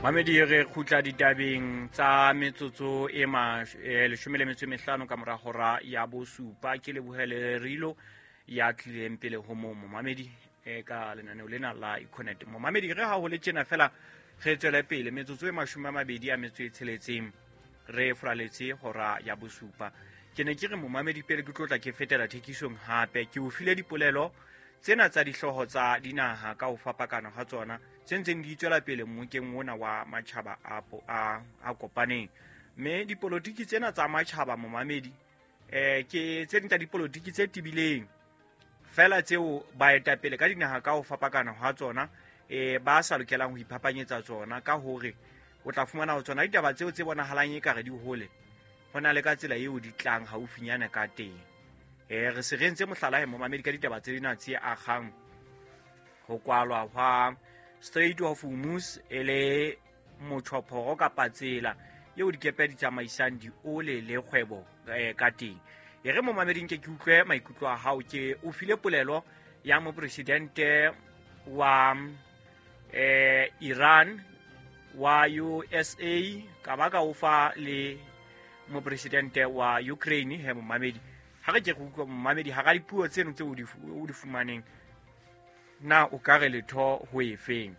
Mamedi, re kgutla ditabeng tsa metsotso e 15 ka mora hora ya 7. Ke lebohele Rilo ya tlileng pele ho mo momamedi ka lenaneo lena la Econet. Momamedi, re ha ho le tjena fela re tswele pele metsotso e 26 re furaletse hora ya 7. Ke ne ke re momamedi pele ke tlotla ke fetela thekisong hape ke o file dipolelo tsena tsa dihlooho tsa dinaha ka ho fapakana ha tsona tse ntseng di tswela pele mmokeng ona wa matjhaba a kopaneng. Mme dipolotiki tsena tsa matjhaba momamedi ke tse ding tsa dipolotiki tse tibileng fela tseo baetapele ka dinaha ka ho fapakana ha tsona ba sa lokelang ho iphapanyetsa tsona, ka hore o tla fumana ho tsona ditaba tseo tse bonahalang ekare di hole ho na le ka tsela eo di tlang haufinyana ka teng. Re se re entse mohlala he momamedi ka ditaba tse dina tse akgang ho kwalwa hwa Strait of Hormuz e le motjhophoro kapa tsela eo dikepe di tsamaisang diole le kgwebo ka teng. E re momameding ke utlwe maikutlo a hao. Ke o file polelo ya mopresidente wa Iran wa USA, ka ba ka o fa le mopresidente wa Ukraine. He momamedi, ha re ke re utlwa momamedi hara dipuo tseno tseo o di fumaneng, na o ka re letho ho efeng?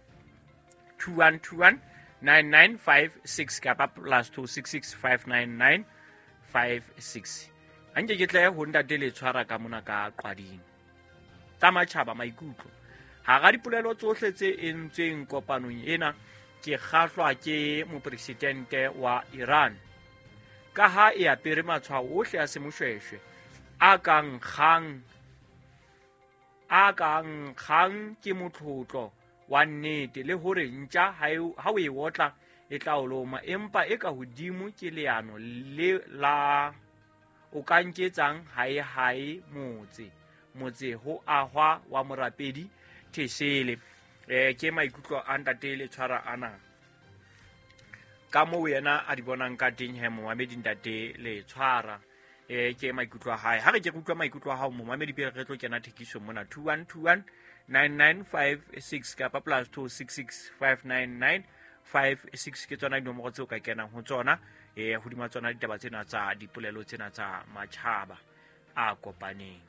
2121 9956 kapa +266 599 56. Anke ke tle ho ntate le tshwara ka mona ka qwading tsa matjhaba maikutlo. Hara dipolelo tsohle tse entsweng kopanong ena, ke kgahlwa ke mopresidente wa Iran, ka ha e apere matshwao ohle a semoshweshwe a kang kgang ke motlotlo wa nnete, le hore ntja ha o e otla e tla o loma, empa e ka hodimo ke leano le la o ka nketsang hae hae motse ho ahwa wa morapedi Thesele. Ke maikutlo a ntate le tshwara ana ka moo yena a di bonang ka teng. He momamedi, ntate le tshwara ke maikutlo a hae. Ha re ke re utlwa maikutlo a hao momamedi pele re tlo kena thekisong mona. 2121 9956 kapa +266 599 56 ke tsona dinomoro tseo ka kenang ho tsona hodima tsona ditaba tsena tsa dipolelo tsena tsa matjhaba a kopaneng.